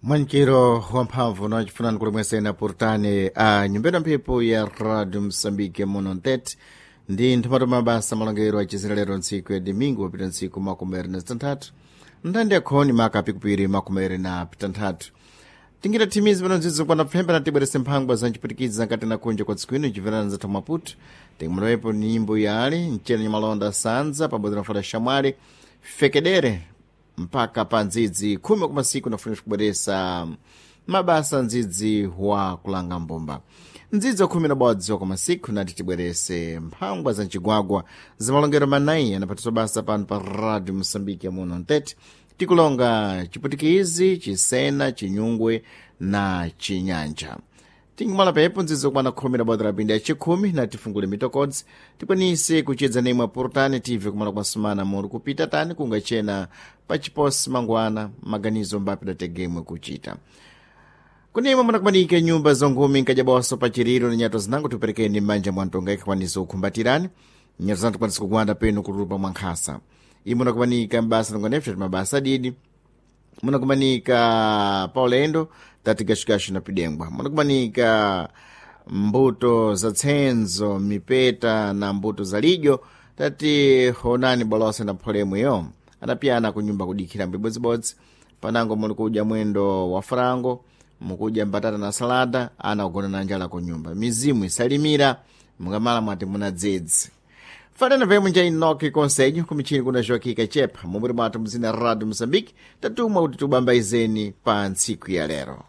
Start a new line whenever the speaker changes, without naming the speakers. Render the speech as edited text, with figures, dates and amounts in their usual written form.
Mwanikiro wamphamvu nachifunani kuti mwesena purtani a nyumbena mphepo ya Radio Msambike muno ntete ndi nthumatu mabasa malongero acizira lero ntsiku ya domingo wapita ntsiku 26 nthandi yakhoni maka pikupiri 23 tingira thimizi pano nzidzo kwana pfemba na tibwerese mphangwa za ncipwitikizi nkati na kunja kwa tsiku ino iciverana zathu Maputo tingamulawepo nyimbo yali mcene nyamalonda sanza pabodzi na fada shamwali fekedere mpaka pa ndzidzi khumi kumasiku nafunira kubweresa mabasa ndzidzi wa kulanga mbumba ndzidzi wa khumi na bodzi wa kumasiku nati tibwerese mphangwa za mcigwagwa za malongero manayi anaphatiswa basa pano pa Radio Msambiki muno ntete tikulonga chiputikizi, chisena, chinyungwe na chinyanja. Tingumala pepo nzizo kwana 11 la pindi ya chikhumi na tifungule mitokodzi tikwanise kuchedza nemwe apurutani tive kumala kwasumana muli kupita tani kungachena pachiposi mangwana maganizo mbapi dategemwe kuchita kunemwe munakumanika nyumba zonkhumi nkajaboso pachiriro ni nyato zinango tiperekeni m'manja mwa mtonga ikakwanisa kukhumbatirani nyato zanu tikwanisa kugwanda penu kutulupa mwa nkhasa imwe munakumanika mbasa longonepsa mabasa adidi munakumanika paulendo tati gashugashu na pidengwa munakumanika mbuto za tsenzo mipeta na mbuto za lidyo tati honani bolose na pholemweyo adapiyana kunyumba kudikhira mbibodzibodzi panango muli kudya mwendo wa frango mukudya mbatata na salada ana kugona na njala kunyumba mizimu isalimira mukamala mwati muna dzedzi fanana vemwe nja inoki konselho kumichini kuna Joaquim Chepa mumuri mwathu mzina Radio Moçambique tatumwa kuti tubambaizeni pa ntsiku ya lero.